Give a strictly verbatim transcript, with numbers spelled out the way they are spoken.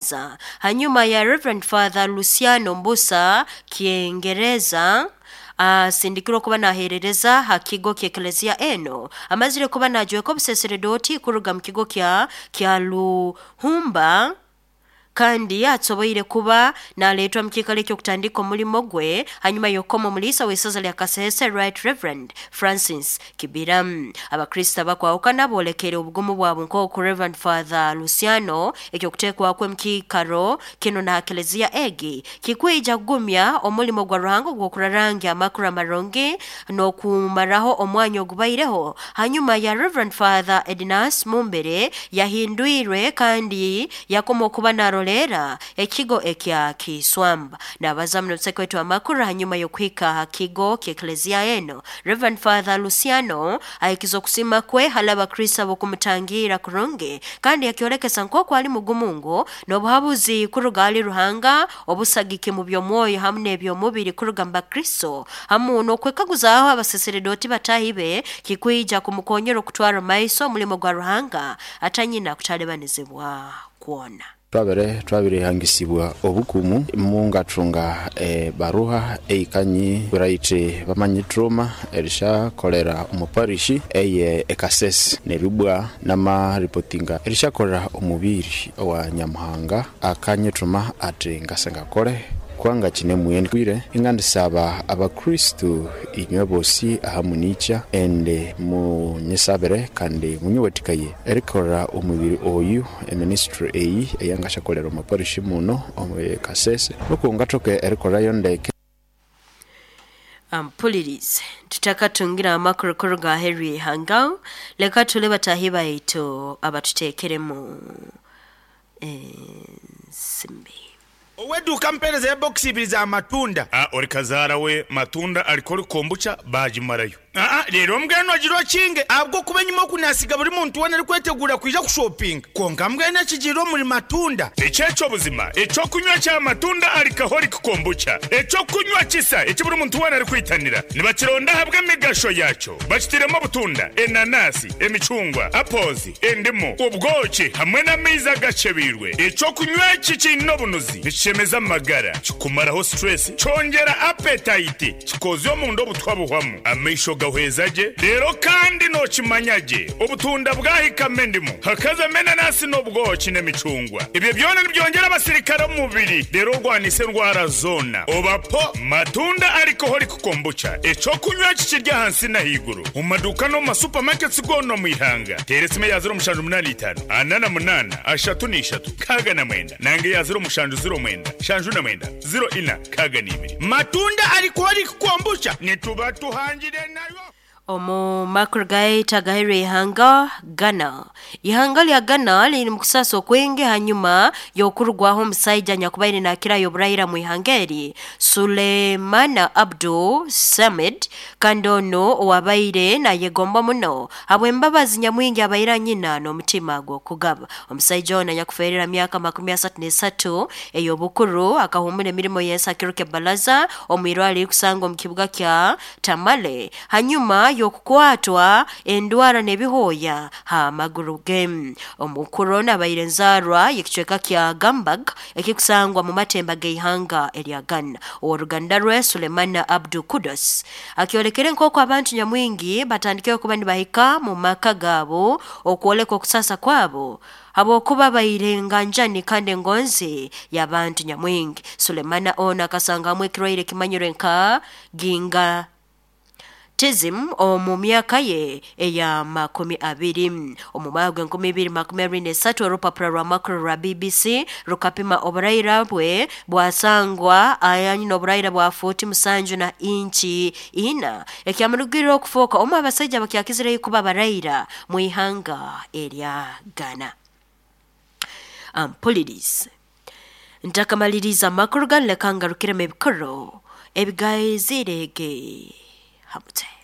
ogw'okubanza hanyuma ya Reverend Father Luciano Mbusa Kiengereza asindikirwe okuba naherereza ha kigo ky'eklezia eno. Amazire kuba najweka obuseseredoti kuruga mu kigo kya kya Luhumba, kandi atsoboire kuba naletwa mu kiikaro eky'okutandika omulimo gwe hanyuma y'okukoma omuliisa w'isaza lya Kasese, Right Reverend Francis Kibira. Abakristo abakwahukana boolekere obugumu bwabo nk'oku Reverend Father Luciano ekyokuteekwakwe mu kiikaro kinu na kelezia egi kikwija kugumya omulimo gwa Ruhanga ogw'okurarangya amakuru amarungi n'okumaraho omwanya ogubaireho hanyuma ya Reverend Father Ednas Mumbere yahindwirwe kandi yakoma okuba narolera ekigo ekya Kiswamba. Nabaza muno wetu amakuru hanyuma y'okuhika ha kigo ky'eklezia eno, Reverend Father Luciano ahikiza okusima kwe hali abakristo ab'okumutangira kurungi, kandi yakyolekesa nk'oku ali mugumu n'obuhabuzi kuruga hali Ruhanga, obusagiki mu by'omwoyo hamu n'eby'omubiri kuruga mu bakristo, hamu n'okwekaguzaaho abaseseredoti batahi be kikwija kumukonyera okutwara maiso omulimo gwa Ruhanga atanyina kutalebanizibwa kwona. Twabere twabirehangisibwa obukumu mungatunga e, baruha eikanyi right bamanyi trauma erisha kolera omuparishi eye ekasese nerubwa nama reportinga erisha kolera omubiri wa Nyamuhanga akanye trauma ate ngasenga kole kwanga chine muyeni kwire ingandisaba abakristu inywe bosi ahamunicha ende munyisabere kandi munyewetikaye erikora omubiri oyu eministry eyi eyangashakolera omuparishi muno omwe Kasese nokungatoke erikorayo ndeke. Ampulirize tutakatungira amakuru kuruga Henry Hanga, leka tule batahi baitu abatutekeremu ensimbi. Oweduka mpereza ya box ibiri za matunda. Ah, ori kazara we matunda alikori kombucha bajimarayo. Ah, rero mbweno agiro kinge abwo kuba nyuma kunasiga buri muntu wena ari kwetegura kwija kushopping. Konka mbweno kigiro muri matunda. Echecho buzima, echo kunywa cha matunda alcoholic kombucha. Echo kunywa kisa eki buri muntu wena ari kwitanira. Nibakironda habwe migasho yacho. Bakitiremo butunda, enanasi, emicungwa, apples, endimu, ubwoki hamwe n'amaizi agacebirwe. Echo kunywa iki kino bunuzi. Nikishemeza amagara, kikumaraho stress, cyongera appetite, kikoze omundu obutwa buhwamu. Amaisho gahwezaje rero kandi nokimanyage obutunda bwahikame ndimu hakaza menanasi n'obwoki n'emicungwa. Ibyo byona nibyongera abasirikare mu mubiri rero rwanise ndwara zona. Obapo matunda alcoholic kombucha eco kunywa kikirya hansi na higuru mu maduka no mu supermarkets gono mu ihanga. Teresime ya zero mushanju munani itanu anana munana ashatu n'ishatu kaga na mwenda nange ya zero mushanju zero mwenda shanju na mwenda zero ina kaga n'ibiri. Matunda alcoholic kombucha nituba tuhangire nayo. Omu makuru gaita gahere ihanga Ghana. Ihanga lya Ghana liri mu kusasa okwingi hanyuma y'okurugwaho omusaija nyakubaire nakirayo oburahira mu ihanga eri Sulemana Abdul Samed, kandi ono owabaire nayegomba muno habw'embabazi nyamwingi abaire nyina n'omutima gw'okugaba. Omusaija ono anyakufeerera myaka makumi asatu n'esatu ey'obukuru akahumura emirimo y'ensakiro kebalaza omwirwaro erikusanga omu kibuga kya Tamale hanyuma y'okukwatwa endwara n'ebihooya ha maguru ge. Omukuru ono abaire nzaarwa y'ekicweka kya Gambag ekikusangwa mu matemba g'eihanga erya Ghana. Oworuganda rwe Sulemana Abdul Kudos akyolekere nk'oku abantu nyamwingi batandikire kuba nibahika mu maka gaabo okwoleka okusasa kwabo habwokuba baire nganjani kandi engonzi y'abantu nyamwingi. Sulemana ono akasangamu ekirwaire kimanyirwe nka ginga Tizim omu myaka ye eya makumi abiri. Omu mwaka gw'enkumi ibiri makumi abiri n'esatu orupapura rwa makuru rwa B B C rukapima oburaira bwe bwasangwa ayanyina oburaira bwa futi musanju na inchi ina ekyamurugirira okufuuka omu abasaija bakyakizireyo kuba baraira mu ihanga erya Ghana. Ampulirize ntakamaliriza amakuru ganu leka ngarukiremu ebikoro ebigaizirege hamute.